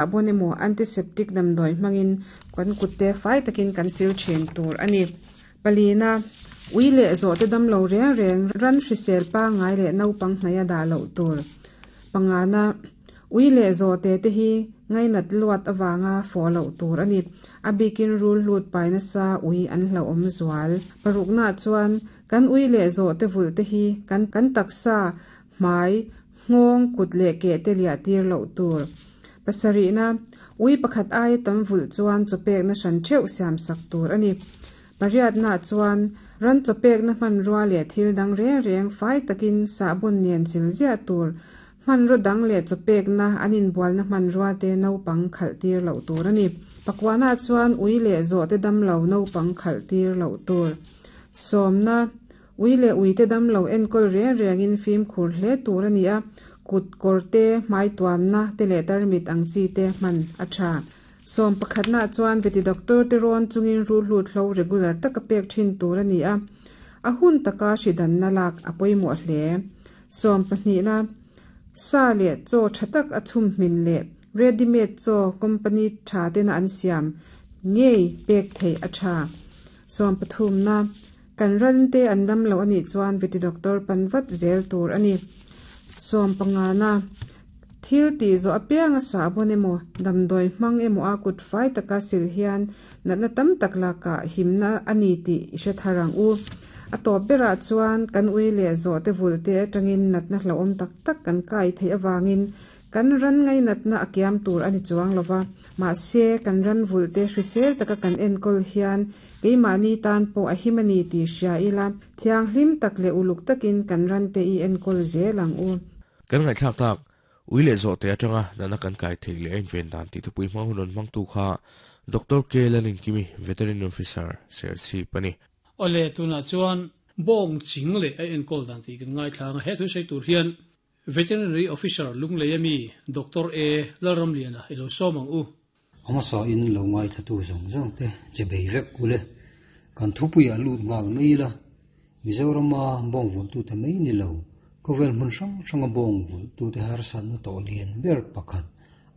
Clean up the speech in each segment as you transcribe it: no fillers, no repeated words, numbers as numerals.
Sahbawn emaw antiseptic damdawi hmangin kan kutte fai takin kan sil thin tur a ni. Palina, ui leh zawhte damlo reng reng ran hrisel pangngai leh naupang hnaih a dah loh tur. Pangana, ui leh zawhte te hi ngainat luat avanga fawh loh tur a ni. A bikin rul hlut pai nasa ui an hlauhawm zual. Paruknaah chuan kan ui leh zawhte vulh te hi kan kan taksa hmai, nghawng, kut leh keh te liah tir loh tur. Pasarihna, ui pakhat aia tam vulh chuan chawpekna hran theuh siam sak tur a ni. Pariatnaah chuan ran chawpekna hmanrua leh thil dang reng reng fai takin sahbawn nen chil ziah tur, hmanraw dang leh chawpekna an inbualna hmanrua te naupang khalh tir loh tur a ni. Pakuanaah chuan ui leh zawhte damlo naupang khalh tir loh tur. Sawmna, Ui leh uite damlo enkawl reng rengin fimkhur hle tur a ni a, kut kawr te, hmai tuamna te leh tarmit ang chi te hman a tha. Sawm pakhatnaah chuan veti doctor te rawn chungin ruhlut hlo regular taka pek thin tur a ni a, a hun taka hridanna lak a pawimawh hle. Sawm pahnihna, sa leh chaw tha tak a chhum hmin leh ready made chaw company tha tena an siam ngei pek theih a tha. Sawm pathumna, Kan rante an dam loh a nih chuan veti doctor pan vat zel tur a ni. Sawm pangana, Thil tih zawh apianga sahbawn emaw, damdawi hmang emaw a kut fai taka sil hian natna tam tak lakah himna a ni tih i hre thar ang u. A tawp berah chuan kan ui leh zawhte vulte atangin natna hlauhawm tak tak kan kai theih avangin Kan ran ngainatna a kiam tur a ni chuang lo va, mahse kan ran vulhte hrisel taka kan enkawl hian keimahni tan pawh a him a ni tih hria ila, thianghlim tak leh uluk takin kan rante i enkawl zel ang u. Kan ngaihthlak tak, ui leh zawhte atanga natna kan kai theih leh a inven dan tih thupui hmang hun rawn hmangtu kha Doctor K. Lalinkimi, Veterinary Officer, Serchhip a ni. Awle, tunah chuan bawng ching leh a enkawl dan tih kan ngaithla ang a, he thu sawi tur hian Veterinary Officer Lunglei ami Doctor A Lalramliana i lo sawm ang u. A hmasa in lo ngaithatu zawng zawng te che bei vek ule. Kan thupuiah lut nghal mai ila, Mizorama bawng vulhtute mai ni lo, khawvel hmun hrang hranga bawng vulhtute harsatna tawh lian ber pakhat,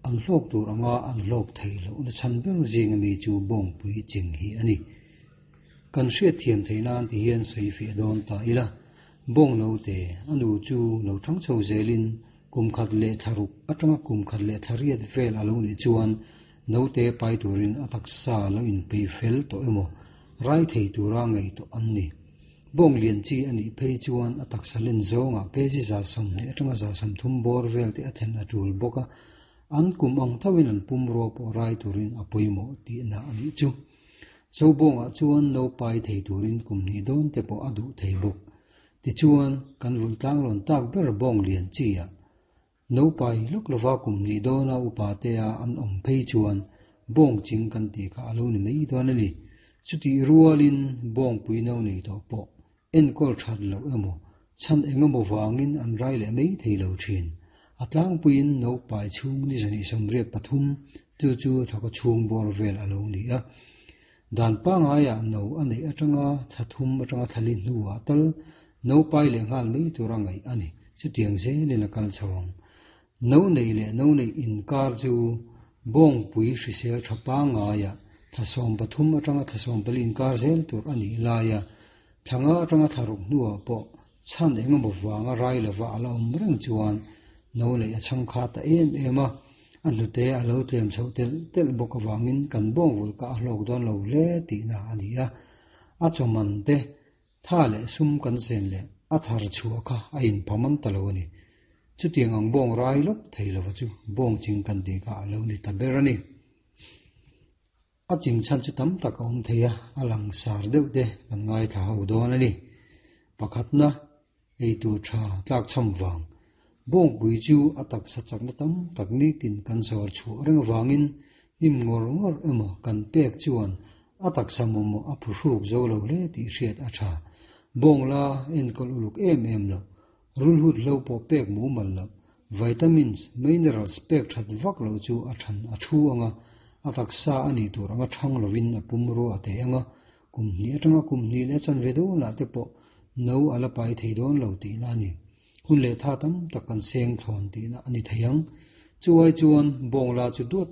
an hlawk tur anga an hlawk thei lohna chhan ber zinga mi chu bawngpui ching hi a ni. Kan hriatthiam theih nan ti hian sawi fiah dawn ta ila, Bawng note, a nu chu lo thang chho zelin kum khat leh thla ruk atanga kum khat leh thla riat vel a lo nih chuan note pai turin a taksa lo inpeih fel tawh emaw rai thei tura ngei tawh an ni. Bawng lian chi a nih phei chuan a taksa len zawngah kg 120 atanga 130 bawr vel te a then a tul bawk a, an kum ang thoin an pumrua pawh rai turin a pawimawh tihna a nih chu. Zobawngah chuan no pai thei turin kum hnih dawn te pawh a duh thei bawk. Tichuan, kan vulh tlang rawn tak ber bawng lian chi ah no pai lawk lova kum hnih dawna upa te a an awm phei chuan bawng ching kan tih kha a lo ni mai dawn a ni. Chutih rualin bawngpui no nei tawh pawh enkawl that loh emaw, chhan eng emaw vangin an rai leh mai thei lo thin. A tlangpuiin no pai chhung ni zahnih 83, chu chu thawka chhung bawr vel a lo ni a. Dan pangaiah no a neih atanga thla thum atanga thla li hnuah tal no pai leh nghal mai tura ngaih a ni. Chutiang zelin a kal chho ang. No neih leh no neih inkar chu bawngpui hrisel tha pangaiah thla 13 atanga thla 14 inkar zel tur a nih laia thla nga atanga thla ruk hnuah pawh chhan eng emaw vanga rai lova a la awm reng chuan no neih a chhang kha ta em em a, a hnute a lo tlem chhoh telh telh bawk avangin kan bawngvulh kah a hlawk dawn lo hle tihna a ni a, a chawman te Tha leh sum kan zen leh a thar chhuah kha a inpham an ta lo a ni. Chutiang ang bawng rai lawk thei lova chu bawng ching kan tih kha a lo ni ta ber a ni. A ching chhan chu tam tak a awm thei a, a langsar deuh te kan ngaithla ho dawn a ni. Pakhatna, eitur tha tlak chham vang. Bawngpui chu a taksa chakna tam tak nitin kan zawr chhuah reng avangin hnim ngawr ngawr emaw kan pek chuan a taksa mawmawh a phuhruk zo lo hle tih hriat a tha. Bawng la enkawl uluk em em loh, rulhut hlo pawh pek mumal loh, vitamins, minerals pek that vak loh chu a than a thu anga a taksa a nih tur anga thang lovin a pumrua a teh anga Kum hnih atanga kum hnih leh chanve dawnah te pawh no a la pai thei dawn lo tihna a ni. Hun leh tha tam tak kan seng thlawn tihna a ni thei ang. Chuai chuan bawngla chu duat tak.